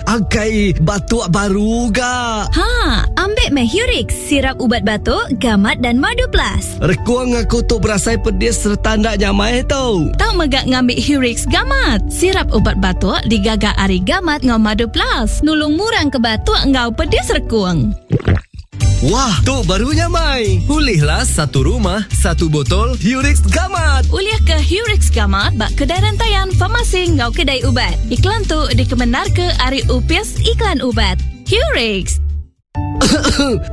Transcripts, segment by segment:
Akai batuk baru ga. Ha, ambik meh Hurix, sirap ubat batuk, gamat dan madu plus. Rekung aku tu berasai pedis sereta enda nyamai tu. Tau mega ngambi Hurix Gamat, sirap ubat batuk digaga ari gamat enggau madu plus, nulung murang ke batuk enggau pedis rekung. Wah, tu baru nyamai. Ulihlah satu rumah, satu botol Hurix Gamat. Ulih ke Hurix Gamat ba kedai rentayan, farmasi enggau kedai ubat. Iklan tu dikemendarka ari Opis Iklan Ubat. Hurix.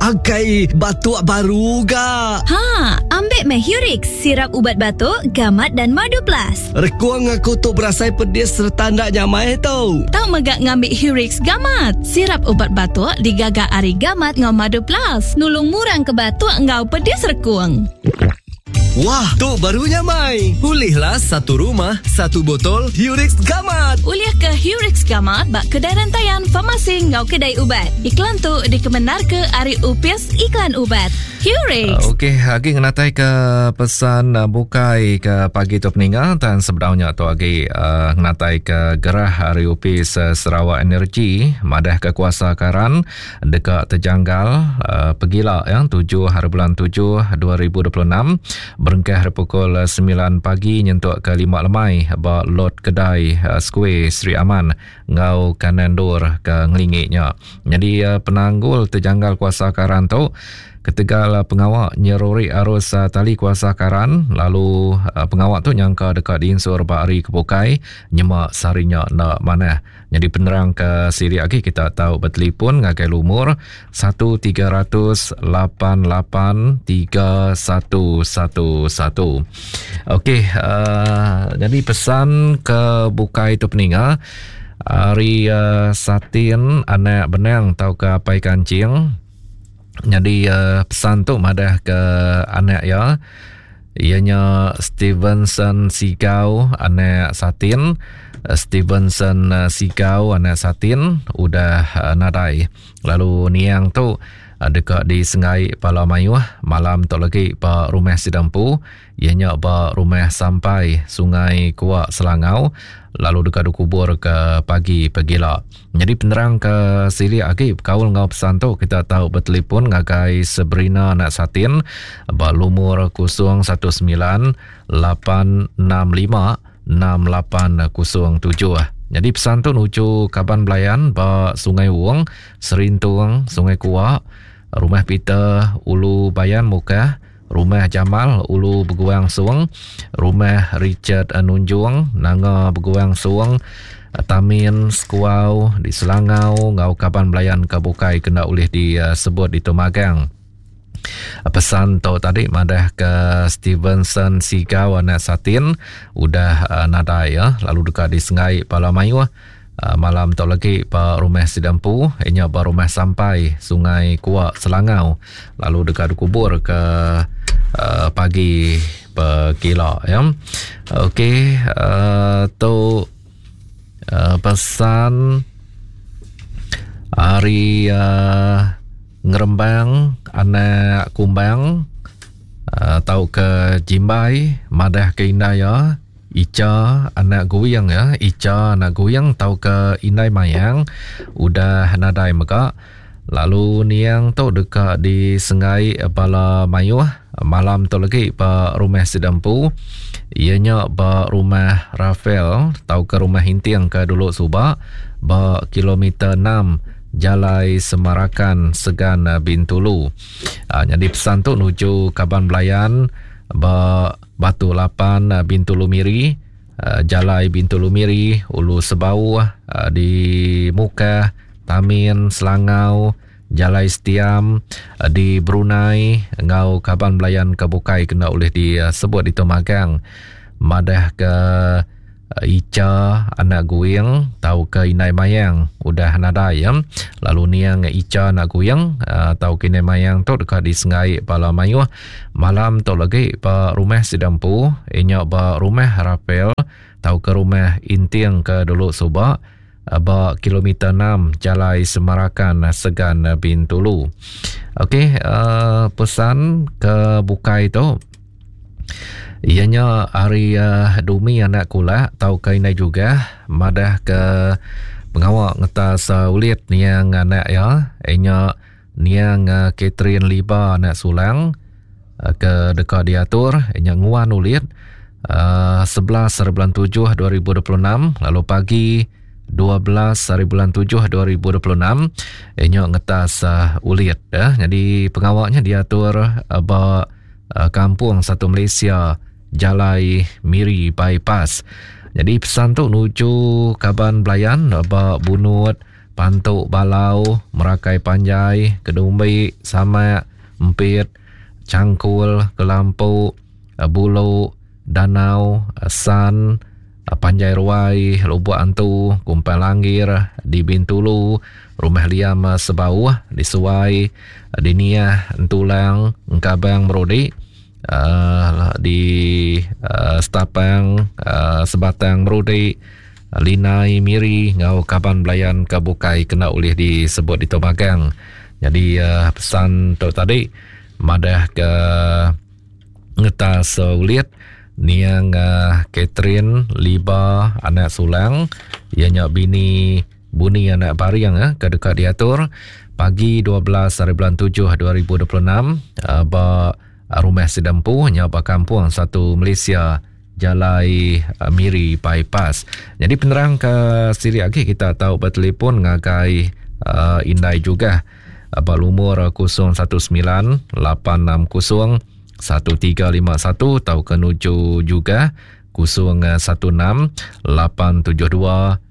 Akai batuk baru ga. Ha, ambik meh Hurix, sirap ubat batuk, gamat dan madu plus. Rekung aku tu berasai pedis sereta enda nyamai tu. Tau mega ngambi Hurix Gamat, sirap ubat batuk digaga ari gamat enggau madu plus, nulung murang ke batuk enggau pedis rekung. Wah, tu baru nyamai. Ulihlah satu rumah, satu botol Hurix Gamat. Ulih ke Hurix Gamat ba kedai rentayan, farmasi enggau kedai ubat. Iklan tu dikemendarka ari Opis Iklan Ubat. Hurix. Ah, okey, agi ngenatai ke pesan ah, bukai ke pagi tu peninga dan sebedaunya tu agi uh, ngenatai ke gerah hari Opis Sarawak Energy madah ke kuasa karan deka terjanggal uh, pegila ya 7 hari bulan 7 2026 berengkah hari pukul 9 pagi nyentuk ke 5 lemai ba lot kedai uh, Square Sri Aman enggau kanan endur ke ngelingi nya. Nyadi eh, penanggul tejanggal kuasa karan tu ketegal eh, pengawa nyeruri arus eh, tali kuasa karan lalu pengawa tu nyangka deka diinsur ba hari ke bukai nyema sehari nya enda manah. Nyadi penerang ke silik agi kita tau betelefon ngagai lumur 1300 88 3111. Okey, uh, jadi pesan ke bukai tu peninga ari uh, Satin anak benang tau ke apai kancing. Jadi uh, pesan tu madah ke anak ya ianya Stevenson Sigau anak Satin. Stevenson Sigau anak Satin udah uh, nadai. Lalu niang tu deka disengai pala mayuh malam tu lagi ba rumah sida empu iya nya ba rumah sampai Sungai Kuak Selangau lalu deka dikubur ke pagi pegila. Nyadi penerang ke silik agi bekaul enggau pesan tu kita tau betelefon ngagai Sebrina anak Satin ba lumur 019 865 6807. Nyadi pesan tu nuju kaban belayan ba Sungai Wong, Serintung, Sungai Kuak, Rumah Peter, Ulu Bayan Mukah, Rumah Jamal, Ulu Beguang Sung, Rumah Richard Nunjung, Nanga Beguang Sung, Tamin, Sekuau, di Selangau enggau kaban belayan ke bukai kena ulih disebut ditu magang. Pesan tu tadi madah ke Stevenson Sigau anak Satin udah uh, nadai ya lalu deka disengai pala mayuh uh, malam tu lagi ba rumah sida empu inya ba rumah sampai Sungai Kuak Selangau lalu deka dikubur ke uh, pagi pegila ya. Okey uh, tu uh, pesan hari uh, Ngerembang anak kumbang uh, tauka jimbai madah ke indai iya Icha anak guing ya Icha anak guing tauka indai mayang udah nadai mega lalu niang tu deka disengai bala mayuh malam tu lagi ba rumah sida empu iya nya ba rumah Rafael tauka rumah Hinting ke dulu suba ba kilometer 6 Jalai Semarakan Segan Bintulu. Uh, nyadi pesan tu nuju kaban belayan ba Batu Lapan Bintulu Miri, uh, Jalai Bintulu Miri, Ulu Sebauh uh, di Mukah, Tamin, Selangau, Jalai Setiam di Brunei enggau kaban belayan ke bukai kena ulih disebut ditu magang madah ke Icha anak Guing tauka Indai Mayang udah nadai ya. Lalu niang Icha anak Guing tauka Indai Mayang tu deka disengai bala mayuh malam tu lagi ba rumah sida empu inya ba rumah Rapel tauka rumah Inting ke dulu suba ba kilometer 6 Jalai Semarakan Segan Bintulu. Okey, uh, pesan ke bukai tu iya nya ari uh, Dumi anak kulak tauka indai juga madah ke Pengawa ngetas ulit niang anak iya nya niang Catherine Liba anak Sulang ke deka diatur nya nguan ulit 11 hari bulan 7 2026 lalu pagi 12 hari bulan 7 2026 nya ngetas ulit ya. Jadi pengawa nya diatur ba Kampung Satu Malaysia Jalai Miri Bypass. Jadi pesan tu nuju kaban belayan ba Bunut, Pantu Balau, Merakai Panjai, Kedumbi, Samak, Empit, Changkul, Kelampu, Bulu, Danau, San, Panjai Ruai, Lubuk Antu, Kumpang Langgir, di Bintulu, Rumah Liam Sebauh, di Suai, di Niah, Entulang, Engkabang Merudi, uh, di uh, Setapang, uh, Sebatang Merudi, Linai Miri ngau kaban belayan ke bukai kena ulih disebut di Magang. Jadi uh, pesan tu tadi madah ke ngetas uh, ulit niang uh, Catherine Liba anak Sulang ianya bini Buni anak Baring eh, ke deka diatur pagi 12 hari bulan 7 2026 eh, ba Rumah Sidempu nya ba Kampung Satu Malaysia Jalai eh, Miri Bypass. Jadi penerang ke silik agi kita tau bertelefon ngagai uh, Indai juga ba lumur 019 860 1351 tau ke nuju juga 016 872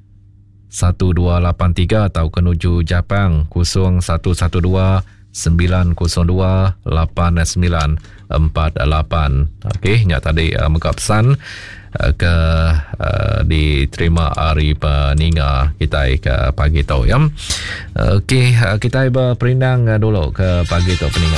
1283 tauka nuju Japang 0112 902 8948. Okey, nya tadi uh, mega pesan uh, ke uh, diterima ari peninga kita ke pagi tu ya. Okey, uh, kita berperindang dulu ke pagi tu peninga.